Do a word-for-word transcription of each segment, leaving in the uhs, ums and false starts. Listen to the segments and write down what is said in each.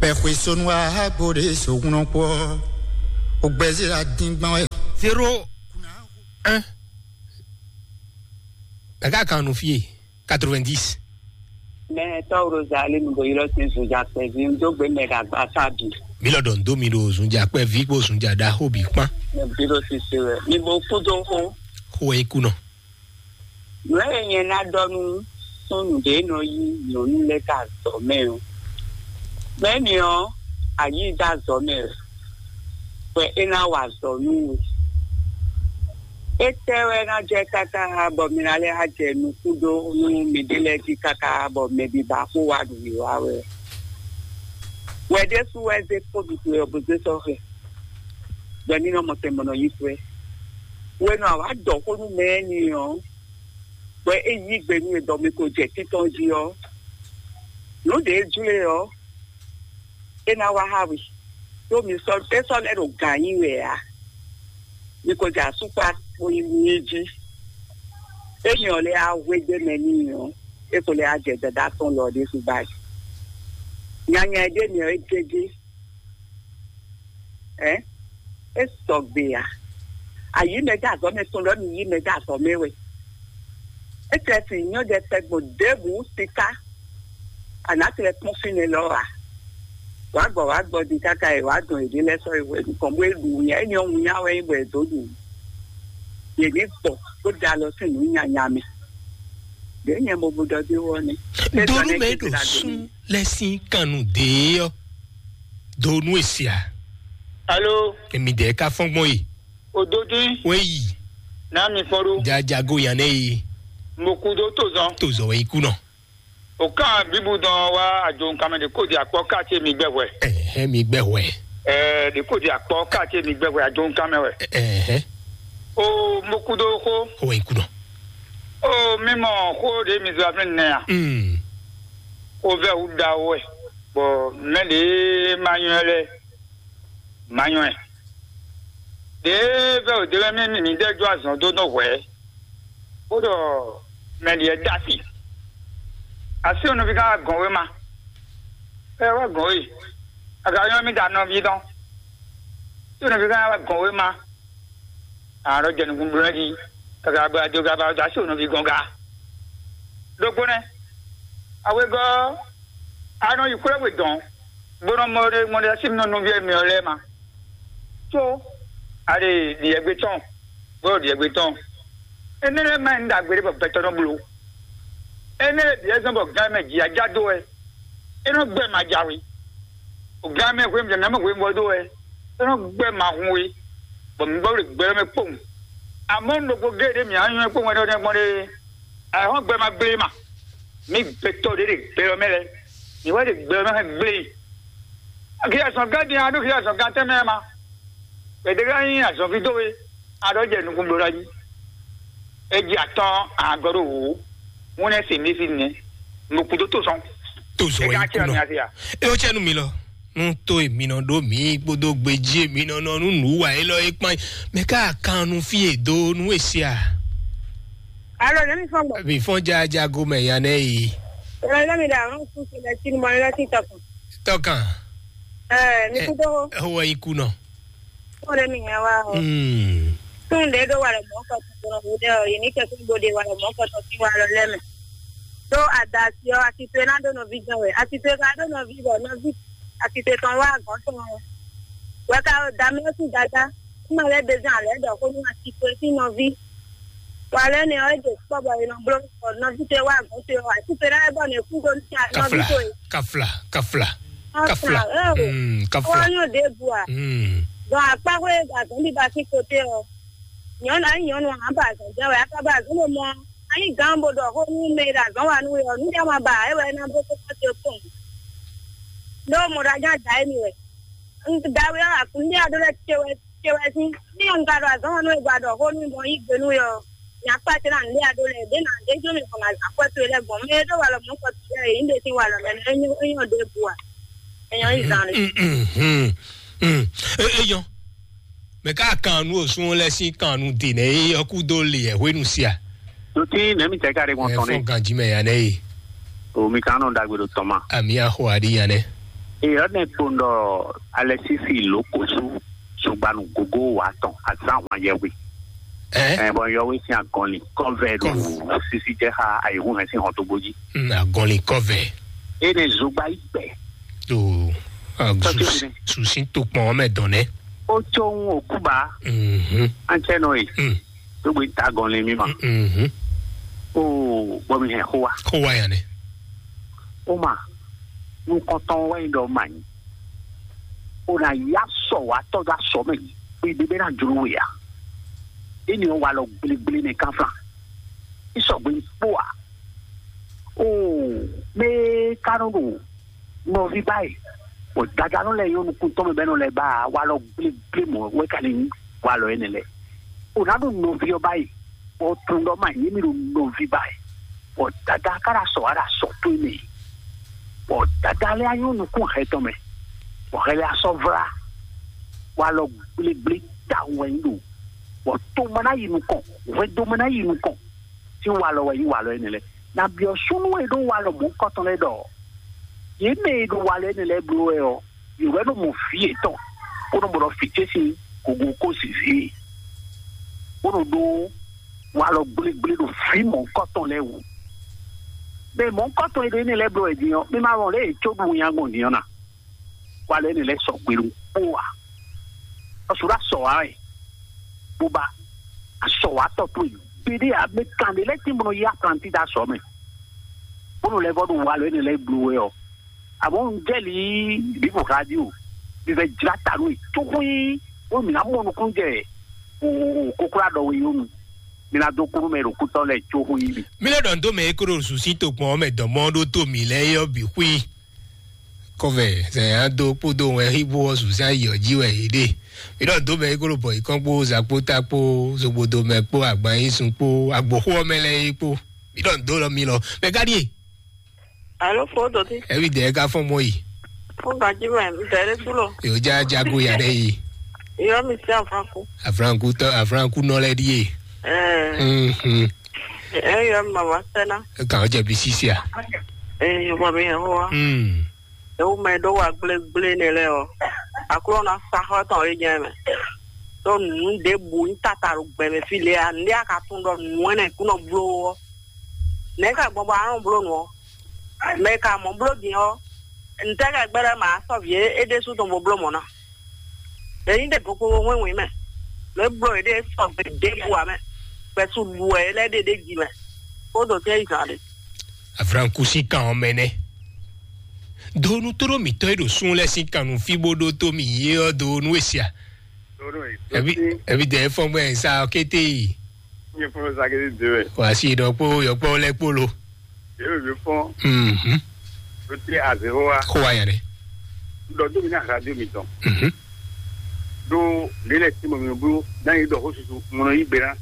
Pɛxwe sonu ahagbó ɖé sogunɔ kpɔ. O gbɛzí la dín gbán wɛ. Zéro un. Mɛ ká kan nu fie quatre-vingt-dix. Mɛ tɔw ɖo zali mi bo ylɔ sin zunja kpɛvi n dó gbe mɛ ɖo agba sa bi. Mi lɔ ɖɔ n dó mi ɖo zunja kpɛvi kpó zunja ɖaxó bǐ kpán. Mɛ bi ɖo sise wɛ mi bo kú dó xó. Xó wɛ é kú nɔ. Nǔ e nyɛ ná ɖɔ nú súnnu ɖě nɔ yí nyɔ̌nu lɛ́ɛ ká azɔ̌ mɛ ɔ́, mɛ̌ ni ɔ́, a yí dó azɔ̌ mɛ wɛ, bɔ é ná wa azɔ̌ nú we. Étɛ́ wɛ ná jɛ káká bɔ mi ná lɛ́ wá jɛ nukún dó nú miɖée lɛ́ɛ jí káká bɔ mɛ bǐ ba xó wá ɖu yě wá wɛ? Wɛ ɖésú wɛ zé kpódú towe ɔ́ bó zé sɔ́ xɛ, bɔ ní nɔ mɔ tɛn bɔ nɔ yí xwɛ. Wɛnu a wǎ ɖɔ xó nú mɛ énɛ́ ɔ́, bɔ é yí gbe nú we ɖɔ mi ko jɛ títɔn jí ɔ́, nǔ ɖě jlé ɔ́, é ná wá xá we. Ɖó mi sɔ́ é sɔ́ lɛ́ ɖo gǎn nyi wɛ ǎ. Mi ko jɛ asúkpa kpo nyi jí. Énɛ́ ɔ́ lɛ́ á hwedó mɛ n'i ɔ́, é ko lɛ́ á jɛ dada tɔn lɔ ɖésú gbá jí. Nyanya e ɖ'é mɛ ɔ́, é gégé. Ɛ é sɔgbe ǎ. Ayǐ mɛ dó azɔ̌ mɛ tɔn lɔ mi yí mɛ dó azɔ̌ mɛ wɛ. É tlɛ sin nyɔ́ ɖɛkpɛ gbɔn ɖěbǔ siká. Anǎ tlɛ kpɔ́n fínɛ́ lɔ ǎ. Wǎ gbɔ wǎ gbɔ din káká e wǎ dɔn yěɖée lɛ́ɛ sɔ́ yi hwɛ nukɔn bó e ɖu wunnya é nyɔ́ wunnya wɛ nyí bɔ è dǒ ɖu. Yě ní gbɔ bó da alɔ sín nǔ nyanya mɛ. Ɖě nyɛ mo bu ɖɔ dó wɔ nɛ́. Donu mɛ ɖo sún lɛ sín kannu dě ɔ́. Donu e sia. Alo. Emi dɛ ka fɔn gbɔn yi. Ododui. Wɛ yi. N'a mi fɔn ɖo. Jajago yan ne yi. Mo ku do to zɔn. To zɔn wɛ yi ku nɔ. O kan bibu dɔn wa ajo nkan mɛ de ko di akpɔ kati mi gbɛ hwɛ. Ɛhɛ mi gbɛ hwɛ. Ɛɛ de ko di akpɔ kati mi gbɛ hwɛ ajo nkan mɛ wɛ. Ɛhɛ. O mo ku do ko. Wɛ yi ku nɔ. O mi mɔ ko de mi zɔ afin nɛ a. Mm. O vɛ wu da wɛ. Bɔ mɛ de ma nyɔ lɛ. Manyɔɛ. Ɖěe vɛ́ wǒ dó wɛ mì mǐ dɛ́ jó azɔn dó nɔ hwɛ̌, bó ɖɔ mɛ ɖiɛ dó asi. Asi ɔ́ nɔví ká wá gɔn wé ma. É wá gɔn wé. A ka nyɔ́ mì da nɔví dɔn. Tí ɔ́ nɔví ká wá gɔn wé ma. A ɖɔ jɛ nukún bló jí. Kaka bɔ a dó ka ba dó asi ɔ́ nɔví gɔn ga. Ɖokpó nɛ́. Awegɔ́ a nɔ yi xwlɛ́ we dɔn, bó nɔ mɔ ɖe mɔ ɖe asi nɔ nɔví mi ɔ́ lɛ́ɛ ma. Có a ɖe ɖiɛgbé tɔn, bó ɖo ɖiɛgbé tɔn. Énɛ́ lɛ́ɛ ma nyí ɖagbe ɖé bɔ gbɛtɔ́ nɔ bló. Énɛ́ lɛ́ɛ bǐ wɛ zɔ́n bɔ gán mɛ jǐ ajá dó wɛ. É nɔ gbɛ ma jǎwe. O gán mɛ hwenu jɛ nǎ mɛ hwenu bɔ dó wɛ. É nɔ gbɛ ma hun we. Bɔ mi gbɔ ɖe gbɛ mɛ kpowun. Amɔ̌ un ɖokpó géé ɖé mǐ á nywɛ́ kpowun wɛ ɖɔ nɛ́ gbɔn ɖé. Ayǐhɔ́ngbe gbé ma gblé ma. Mi gbɛtɔ́ ɖě ɖe gbɛ ɔ́ mɛ lɛ́ɛ. Mi wɛ ɖe gbɛ ɔ́ mɛ hɛn gblé. Axi azɔ̌ gán din a ɖó axi azɔ̌ gán tɛ́ mɛ ma. Gbɛdɛgán nyí azɔ̌ví dó we. A ɖɔ jɛ nukún bló jí. É jí atɔ́n a gɔ́ ɖó wǔ. Wọ́n nɛ́ se mí fi nɛ. Mo kú dó tó sɔn. Tó zɔ Ẹ ká yí kú nɔ. Ẹ ó cɛ nu mi lɔ. Nú tó èmi nɔ ɖó mí kpódó gbejí èmi nɔ nɔ nú nǔ wa élɔ́ é kpán. Mɛ ká kan nu fí è dó nú èsì à. Alo, ne mi fɔn gbɔ. Mi fɔn jaja go mɛ ya nɛ yi. Alo, ne mi da, ɔn, kú se lɛ tí mo lɛ tí tɔkùn. Tɔkàn. Ɛ, mi kú dó. Ó wɔ yí kú nɔ. Ó lé mi yẹn wá o. Hmm. Tún lé ɖó wa lɔ mɔ̌ kɔ tɔn ɖo ɖe ɔ, yě ní kɛ fún gbode wa lɔ mɔ̌ kɔ tɔn sín wa lɔ lɛ́ mɛ. Ɖó adasi ɔ, asitwe ná ɖó nɔví jɛn wɛ. Asitwe ka ɖó nɔví bɔ nɔví asitwe tɔn wá agɔ̌n tɔn ɔ. Wɛ ka da mɛ sín dada. Kuma lɛ bezan alɛ ɖɔ ko nú asitwe sín nɔví. Wa lɛ nɛ ɔ, é ɖe kpɔ bɔ è nɔ bló bɔ nɔví towe wá agɔ̌n towe ɔ, asitwe ná lɛ bɔ nɛ kú ɖó nɔví Kafla, towe. Kafla, kafla, kafla. Kafla, ɛ o. Mm, kafla. Wọ́n yóò dé bu à. Mm. Dɔn akpa xwé gazɔn bí ba sí kote ɔ. Nyɔnu ayi nyɔnu hàn ba azɔn jɛ wɛ aka ba azɔn mo mɔ. Ayi gan bo ɖɔ xó nú mɛ ɖe azɔn wa nú we ɔ, nú jama ba ɛ wɛ ná bó kókó te kpɔn. N'o mɔ ɖe ajá da emi wɛ. Dawe ɔ, akun ní aɖó lɛ ce wɛ ce wɛ sín. Ní un ka ɖo azɔn wa nú we gba ɖɔ xó nú mɔ yí gbe nú we ɔ. Nya kpa ce na nɖe aɖó lɛ ɖe na ɖe jó mi kɔn na zan kɔ towe lɛ gbɔn. Mɛ ɖo wa lɔ mɔ kɔ towe lɛ yi ɖe sín wa lɔ mɛ. Enyo enyo ɖe bu a. Enyo yi zan. Mm, mm, mm, mm. E, eyɔn. Mɛ ká kan nu osun lɛ sín kan nu dè nɛ eyɔn kú dó le ɛ hwenu sia. Nutí nɛmi tɛ ká ɖe gbɔn tɔn ne. Fɔn ganji mɛ ya nɛ ye. O mi kan nɔ dagbe ɖo tɔn ma. Ami axɔ aɖi ya nɛ. Eyɔ ne kpondɔ Alexis Lokosu, sugbanu gogo wa tɔn azan hwan yɛwe. Ɛ, Ɛ, bɔn yɔwe sin agɔnli kɔvɛ do Kɔv- sisi jɛ xa ayi hun hɛn sin hɔn to gboji. Mm, agɔnli kɔvɛ. E ne zogba yi pɛ. Do Tɔtɔ su ne. Susi to kpɔn mɛ dɔn nɛ. O tso ŋu okuba. Mhm. An cɛ nɔ ye. Mm. Dogbe ta gɔnli mi ma. Mhm. O bɔ mi hɛn xo wa. Xo wa yan ne. O ma. Nukɔntɔn wɛ yin dɔ ma nyi. O na ya sɔ wa tɔ da sɔ mɛ. O yi bebe na jlo we ya. E ni wa lɔ gble gble ne kan flan. I sɔgbe kpó a. O mɛ ka nɔ ɖo nɔví báyìí, bɔ dadanɔ lɛ yɔ nukun tɔn mɛ bɛ nɔ lɛ ba walɔ gblégblé mɔ wɛ ka lɛ nyí walɔ ɛnɛ lɛ. O na ɖo nɔví ɔ báyìí, bɔ tun ɖɔ ma nyí mi ɖo nɔví báyìí, bɔ dada ka ɖo asɔ wa ɖo asɔ tó mɛ, bɔ dada lɛ anyɔ nukun hɛ tɔn mɛ, bɔ hɛ lɛ asɔ vla walɔ gblégblé tawun wɛ nyí ɖo, bɔ to ma ná yi nukɔn, hwɛndo ma ná yi nukɔn. Tí walɔ wɛ nyí walɔ énɛ́ lɛ́ɛ. Na byɔ́ súnnu e ɖó walɔ mɔ̌hunkɔtɔn lɛ́ɛ ɖɔ yě mɛ e ɖo walɔ énɛ́ lɛ́ɛ bló wɛ ɔ́, yě wɛ nɔ mɔ vǐ yětɔn, bó nɔ mɔ ɖɔ vǐ ce sín gogo kó zǐzí, bó nɔ ɖó walɔ gblégblé ɖo vǐ mɔ̌hunkɔtɔn lɛ́ɛ wú. Mɛ mɔ̌hunkɔtɔn e ɖo énɛ́ lɛ́ɛ bló wɛ din ɔ́, mi ma wɔn lě e có ɖu winnyá gbɔn din ɔ́ na. Walɔ énɛ́ lɛ́ɛ sɔgbe ɖo kpó a? Ɔsù ɖo asɔ wa wɛ, bó ba asɔ wa tɔ towe. Bede a mɛ kan ɖe lɛ́ tín bɔ nɔ yí aplanti ɖo asɔ mɛ, bónú lɛ́ vɔ ɖo walɔ énɛ́ lɛ́ɛ bló wɛ ɔ́. Àmọ́ un jɛ li bíbù radio, mi vɛ jlá ta nú e tó xwí, bónú mi ná mɔ nukún jɛ o kókó aɖɔ we yónu. Mi ná dó kúrú mɛ ɖo kútɔ lɛ tó xwí mi. Mi lɛ ɖɔ ndo mɛ e kó ɖo susi to kpɔn mɛ dɔmɔ ɖó tó mi lɛ yɔ bi xwí. Kɔvɛ sɛ ado kpódó wɛ híbo ɔ́ sùsá yi ɔ́ jí wɛ yě ɖe. Mi ɖɔ dó mɛ yi kó ɖo bɔ yi kɔn kpó zakpó ta kpó zogbodo mɛ kpó agban yi sun kpó agboxó ɔ́ mɛ lɛ́ɛ yi kpó. Mi ɖɔ dó lɔ mi lɔ mɛ ká ɖíe. Alo fo dɔti. Ɛbi dɛ ka fɔn mɔ yi. Fo gaji mɛ dɛ ɖe tu lɔ. Yóò já jago ya ɖe yi. Yɔ mi si afranku. Afranku tɔ afranku nɔ lɛ ɖíe. Ɛɛ. Mhm. Ɛɛ yɔ mi mama sɛna. Kan ɔjɛ bi sisia. Ɛɛ yɔ mi hɛn wa. Hmm. Ewu mɛ ɖó wa gblégblé nɛ lɛ ɔ, aklɔ na sa xɔ tɔn yi nyɛ mɛ. Ɖó nǔ ɖěbǔ nyí tata ɖo gbɛmɛ fí lě a, nǔɖé a ka tunwun ɖɔ nǔ ɛnɛ kún nɔ bló ɔ́, nɛ̌ ka gbɔn bɔ a nɔ bló nǔ ɔ́? Mɛ e ka mɔ bló din ɔ́, ntɛ́ ka gbɛ́ ɖɔ ma sɔ́ vǐ é ɖésú tɔn bó bló mɔ̌ ná? Ɖě nyí ɖě gokpokpo hwɛ́nwǐn mɛ, nǔ e bló yě ɖe sɔgbe ɖěbǔ ǎ mɛ, gbɛ̌su ɖu wɛ é lɛ́ ɖe ɖ'é jí mɛ, bó ɖo tɛ́ yi zǎn ɖé. Avrankusi kan ɔ́ mɛ nɛ́. Donu tóɖó mǐtɔn e ɖo sun lɛ́ɛ sín kannú fí bó ɖótó mì yé ɔ́ donu e sia. Ebi ebi dɛ fɔn gbɛ sa kété yi. Nye fɔn sa kété de wɛ. Wasi dɔ kpó yɔkpɔ lɛ kpolo. Yóò yóò fɔn. Mhm. Ló tẹ azéwó wa. Kó wa yẹn dɛ. Dɔ dómi náà radio mi tɔn. Mhm. Ɖó lě lɛ́ɛ tín bɔ mi nɔ bló ná yi ɖɔ xó susu mo nɔ yí gbe ná.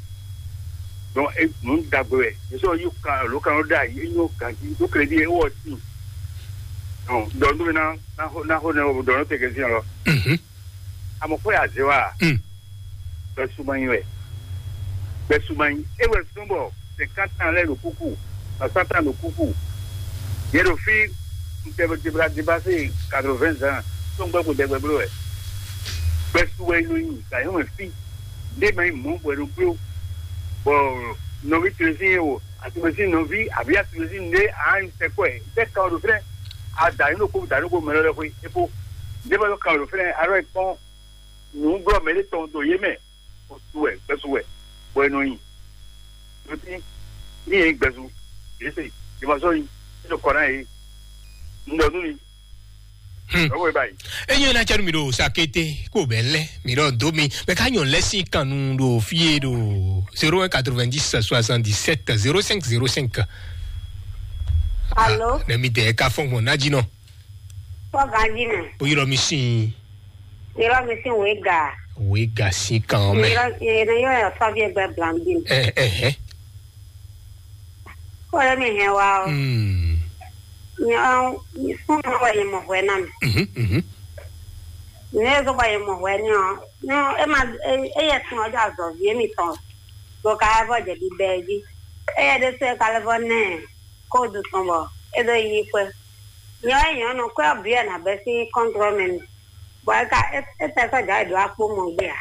Donc e nǔ ɖagbe wɛ. Yě sɔ́ yí kan lǒ kan ló ɖe ayi é nyɔ́ ganjí ɖó kɛlɛdí é wɔ tín. Donc dɔ nú mi ná ná xó ná xó nɛ wɔ dɔ nɔ tɛgɛ sín lɔ. Mhm. Amɔ xó yà zé wa. Mm. Bɛ suma nyi wɛ. Bɛ suma nyi é wɛ sún bɔ cinquante ans lɛ ɖo kúkú, soixante ans ɖo kúkú. Yɛ ɖo fí ntɛbɛtɛbɛ dépassé quatre-vingts ans, tó ń gbɛ kó dɛgbɛ bló wɛ. Gbɛsu wɛ nɔ nyi gǎnyɔ mɛ fí. Ndé ma nyi mɔ̌ bɔ è nɔ bló. Bɔ nɔví tlɛsín yɛ o, àtúmɛsín nɔví àbí àtúmɛsín ndé a nyi sɛkɔɛ, ntɛ kan ɖo fɛnɛ. A da yín ɖo kó da ɖo kó mɛ lɔ lɛ xwé. É kó ndé ma lɔ kan ɖo fɛnɛ, a lɔ kpɔn nǔ blɔ mɛ ɖé tɔn ɖo yé mɛ. Osu wɛ gbɛsu wɛ bɔ e nɔ nyi. Lotí ní yẹn gbɛsu yése ìmọ̀sọ́ yìí nínú kọ́ náà yìí. Ń lọ nú mi. Hmm. Lọ́wọ́ ẹ báyìí. Enyi na cɛnu mi ɖo sakete ko bɛ lɛ mi ɖɔ do mi bɛ ka nyɔ lɛ si kanu ɖo fie ɖo zéro un quatre-vingt-dix soixante-dix-sept zéro cinq zéro cinq. Alo. Ne mi dɛ ka fɔn gbɔn na dzi nɔ. Fɔ ganji mɛ. Bó yɔrɔ mi sin. Yɔrɔ mi sin wega. Wega sin kan mɛ. Yɔrɔ yɔrɔ yɔrɔ sɔvi gbɛ blanbi. Ɛ ɛ hɛ. Kɔlɛ mi hɛn wa o. Hmm. Nyɔ sun wɛ ye mɔ hwɛ na mi. Mhm mhm. Ne zo ba ye mɔ hwɛ ni o. No e ma e ye sun o ja zɔ vie mi tɔn. Go ka vɔ jɛ bi bɛ ji. E ye de se ka le vɔ ne. Ko du tɔn bɔ e do yi kwɛ. Nyɔ é nyɔ nɔ kwɛ ɔ́ bǐ wɛ nǎ bɛ́ sín kɔntrɔ́ mɛ mi. Bɔ é ka é é tɛ sɔ́ jǎ yi ɖo akpó mɔ gbé a?